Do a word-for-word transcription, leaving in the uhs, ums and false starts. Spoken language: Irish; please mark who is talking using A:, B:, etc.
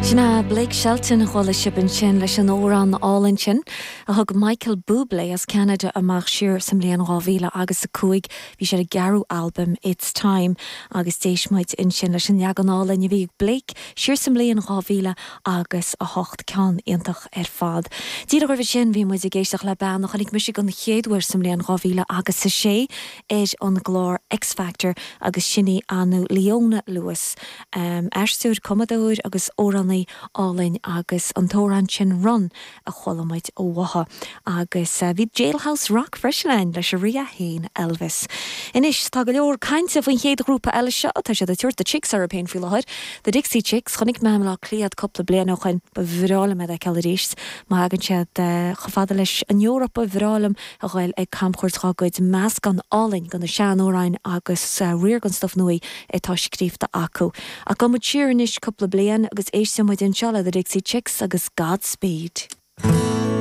A: Sin é Blake Shelton a chuala sibh ansin leis an amhrán álainn sin a thug Michael Bublé as Canada amach siar sa mbliain dhá mhíle agus a cúig bhí sé a cheathrú albam It's Time agus d'éist muid ansin leis an leagan álainn a bhí Blake siar sa mbliain dhá mhíle agus a hocht ceann iontach ar fad. Díreach roimhe sin bhí muid ag éisteacht le bean a chonaic mise den chéad uair sa mbliain dhá mhíle agus a sé ar an gclár X Factor agus sin í Anu Leona Lewis. Um, aisteoir cumadóir agus amhránaí álainn agus an t-amhrán sin Run a chuala muid uaithi agus uh, bhí Jailhouse Rock freisin ann leis an rí féin Elvis. Anois tá go leor cainte faoin chéad ghrúpa eile seo tá siad ag tabhairt The Chicks orthu féin faoi láthair. The Dixie Chicks chonaic mé i mBaile Átha Cliath cúpla bliain ó shin ba bhreá liom iad a fheiceáil arís má thagann siad uh, chomh fada leis an Eoraip ba bhreá liom a ghoil ag camchuairt dá gcuid meascán álainn de na seanamhráin agus uh, riar den stuff nua atá scríofa acu. A go siar anois cúpla bliain agus éistfidh muid anseo le The Dixie Chicks agus Godspeed.